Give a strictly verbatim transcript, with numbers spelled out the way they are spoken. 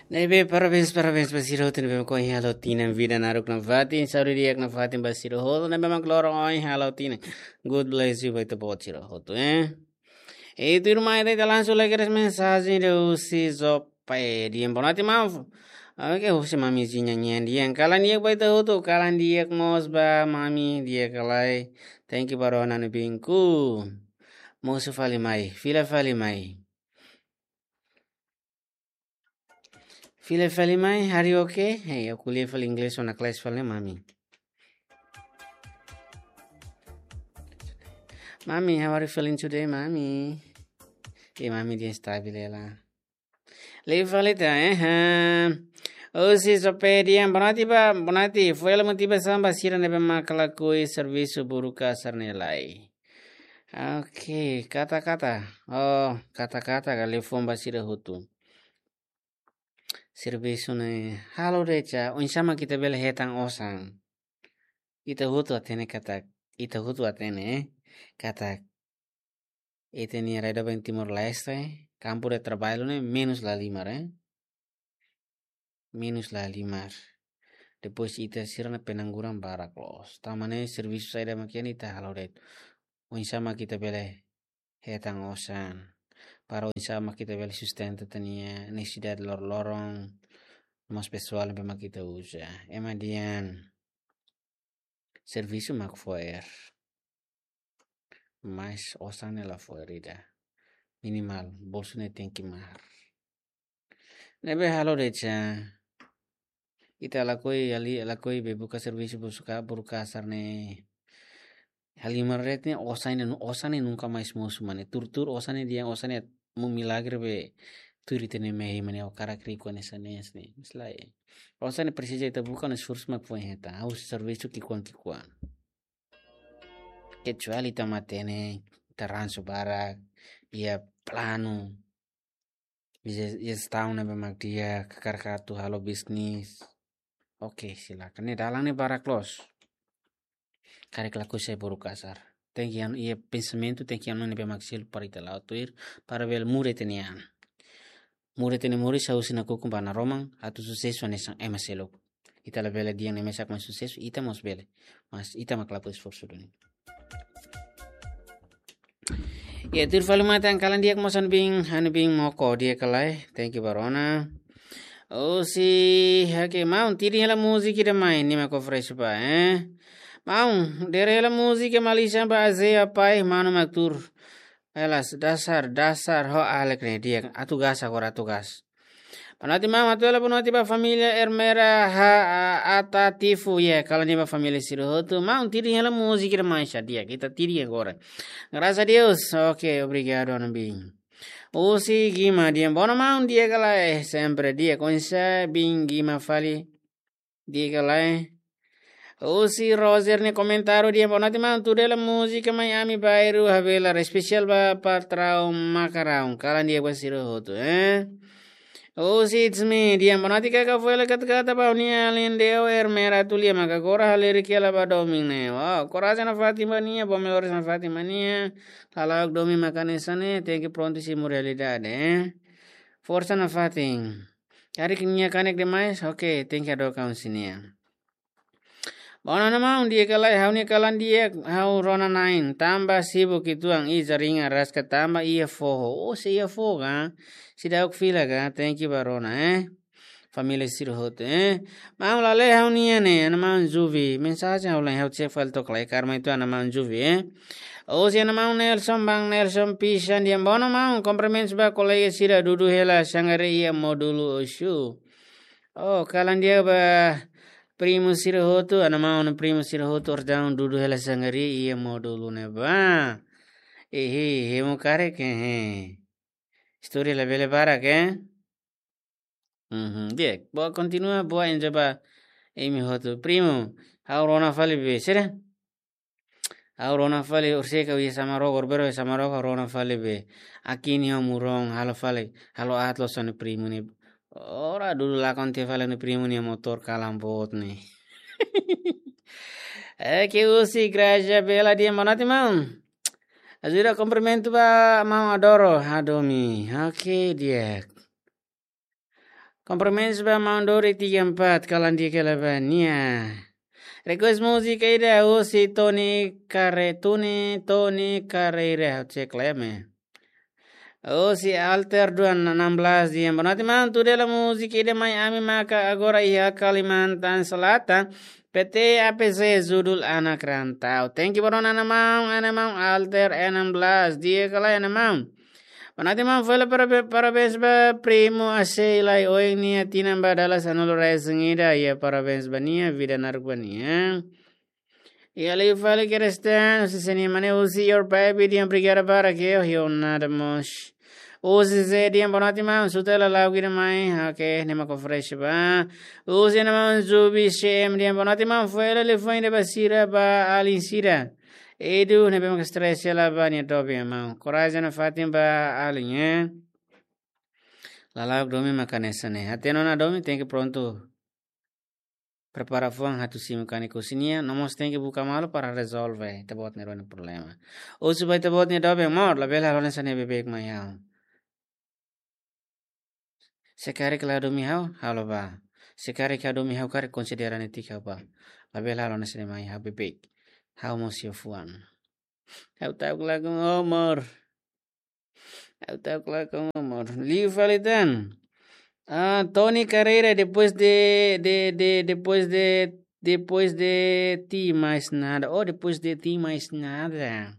Ne'ebé, parabéns, parabéns ba sira hotu ne'ebé mak ohin halo tinan vida naruk nafatin, saúde di'ak nafatin ba sira hotu ne'ebé mak loron ohin halo tinan. God bless you ba ita-boot sira hotu, eh. E tuirmai ita langsung lai kedas mensajen husi Jope, dehan boa noite, maun. Oke, husi mami Zinha nian dehan kalan di'ak ba ita hotu, kalan di'ak mós ba mami, di'ak ka lae. Thank you ba rona no binku. Mosu fali mai, fila fali mai. Fila fali mai, are you okay? Hey, aku lia fali English ona kelas fali mami. Mami, how are you feeling today, mami? E mami dehan stabil hela. Liu fali ita, eh? Ha. Husi Jope dehan boa noite ba, boa noite. Foin hela motivasaun ba sira ne'ebé mak lakohi servisu buruka sira-ne'e lai. Oke, kata-kata. Oh, kata-kata ka liafuan ba sira hotu. Servisu ne'e halo de'it, oinsá mak ita bele hetan osan. Ita hotu hatene katak, ita hotu hatene, eh, katak ita-nia rai doben Timor-Leste, kampu de traballu ne'e menus lahalimar, eh. Menus lahalimar. Depois ita sira-nia pengangguran barak loos. Tanba ne'e servisu saida mak iha ne'e ita halo de'it. Oinsá mak ita bele hetan osan. Para oinsá mak ita bele sustenta ita-nia nesesidade loroloron, no mós pesoál ne'ebé mak ita uza. Ema dehan servisu mak fo'er. Mas osan ne'e la fo'er ida. Minimal, bolsu ne'e tenke mahar. Ne'ebé halo de'it, ita lakohi, ali, lakohi bá buka servisu buka, buruka sira-ne'e. Halimar de'it ne'e osan ne'e, osan ne'e nunka mais mosu mane. Tuur-tuur osan ne'e dehan osan ne'e mak milagre be tuur ita-nia mehi mane, o karak riku hanesan ne'e, hanesan ne'e. Mas lae. Osan ne'e presiza ita buka no esforsu mak foin hetan. Ha'u servisu ki'ikoan-ki'ikoan. Kecuali ita matenek, ita ransu barak, iha planu, iha, iha jestaun ne'ebé mak di'ak, hakarak atu halo bisnis. Oke, silakan. Ne'e dalan ne'e barak loos. Karik lakohi sai buruka sira. Tenke iha, iha pensamentu, tenke iha ne'ebé mak selu para ita la'o tuir, para bele muda ita-nia an. Muda ita-nia moris, ha'u sei nakukun ba naroman, atu susesu hanesan ema seluk. Ita labele dehan ema mesak mak susesu, ita mós bele. Mas ita mak lakohi esforsu duni. Ya, tuir fali mai tan kalan di'ak mós ha'u-nia biin, ha'u-nia biin Moko di'ak ka lae. Thank you ba rona. Husi, oke, maun, tidin hela múzika ida mai, ne'e mak fresh ba, eh. Maun, dere hela múzika Malisa ba Azea pai, manu mak tuur. Elas, dasar, dasar, ho alek ne'e di'ak. Atu gas agora, atu gas. Boa noite, maun, atu hela boa noite ba família Ermera ha, a, Ata Tifu, ya, kalan di'ak ba família sira hotu. Maun, tidin hela múzika ida mai, sa di'ak, ita tidin agora. Graças a Deus, oke, obrigadu, ha'u-nia biin. Husi Gima dehan, boa noite, maun, di'ak ka lae, sempre di'ak, oinsá biin Gima fali. Di'ak ka lae. Husi Roger nia komentáriu dehan boa noite maun, tuur hela múzika mai ami bairru Havelar, espesiál ba patraun makaraun. Kalan di'ak ba sira hotu, eh. Husi It's Me dehan boa noite kaka, foin hela kata-kata ba ha'u-nia alin Deo Ermera Tulia maka agora halerik hela ba domin ne'e. Wow, korajen nafatin ba nia, boa melhoras nafatin ba nia. Lalaok domin maka hanesan ne'e, tenke prontu simu realidade, eh. Forsa nafatin. Karik nia kanek demais, oke, tenke hadook husi nia. Boa noite maun, di'ak ka lae, ha'u-nia kalan di'ak, ha'u rona na'in, tanba sibuk uitoan, i jaringan rasik tanba iha foho. Oh, sei iha foho ka? Seidauk fila ka? Thank you ba rona, eh. Família sira hotu, eh. Maun, la lee ha'u-nian ne'e, ana maun Juvi. Mensajen ha'u la, ha'u cek fali to'ok lai, karma itu ana maun Juvi, eh. Husi ana maun Nelson, bang Nelson Pisan dehan boa noite maun, kumprimentus ba kolega sira, dudu hela sangare iha módulu Oxu. Oh, kalan di'ak ba primu sira hotu, ana maun primu sira hotu, ordaun dudu hela sangare iha módulu ne'ebá. Ehe, hemu karik, ehe. Istória labele barak, eh? Mhm, di'ak. Boa, kontinua, boa, enjoy ba imi hotu. Primu, ha'u rona fali be, sira? Ha'u rona fali, orsida ka iha Samaroko, orbero iha Samaroko, ha'u rona fali be. Akin iha Morón, halo fali, halo aat loos ha'u-nia primu ne'e. Ora dudu lakon tiha fali ha'u-nia primu nia motór kalan boot ne'e. Oke, husi Graja Bela dehan boa noite maun. Ajuda kumprimentu ba maun Adoro, hadomi. Oke, di'ak. Komprimentus ba maun Dori tiga empat, kalan dia kela ba nia. Request múzika ida husi Tony Care-, Tony, Tony Carreira, cek leme. Husi Alter dua enam belas dia. Boa noite, maun. Tudo ela múzika ida mai ami maka agora iha Kalimantan Selatan. P T A P C judul Anak Rantau. Thank you, bro, ana maun, ana maun Alter enam belas. Dia kela, ana maun. Boa noite, maun. Fali para, parabéns ba primo Asei lai oin nia tinan ba dala sanulu-resin-ida. Ya, parabéns ba nia, vida naruk ba nia. Ya, liu fali Kerestan, husi seni mane husi your baby dia, obrigada para ke, oh, yo nada mós. Husi Zé dia, boa noite, maun. Suta hela lagu ida mai. Oke, ne'e mak fresh ba. Husi ana maun Zubi C M dia, boa noite, maun. Fali liafuan ida ba sira, ba alin sira. Edu, ne'ebé mak stress hela ba nia doben, maun. Korajen nafatin ba alin, eh. Lala'ok domin maka hanesan ne'e. Hatene ona domin, tenke prontu prepara fuan atu simu kanek husi nia, no mós tenke buka malu para rezolve ita-boot nia rona problema. Husu ba ita-boot nia doben, amor, labele halo hanesan ne'e beibeik mai ha'u. Se karik la domin ha'u, ha'u la bá. Se karik ha'u domin ha'u, karik konsidera netik ha'u bá. Labele halo hanesan ne'e mai ha'u, beibeik. Ha'u mós iha fuan. Ha'u ta'uk lagu, amor. Ha'u ta'uk lagu, amor. Liu fali tan. Ah, Tony Carreira, depois de, de, de, depois de, depois de ti mais nada. Oh, depois de ti mais nada.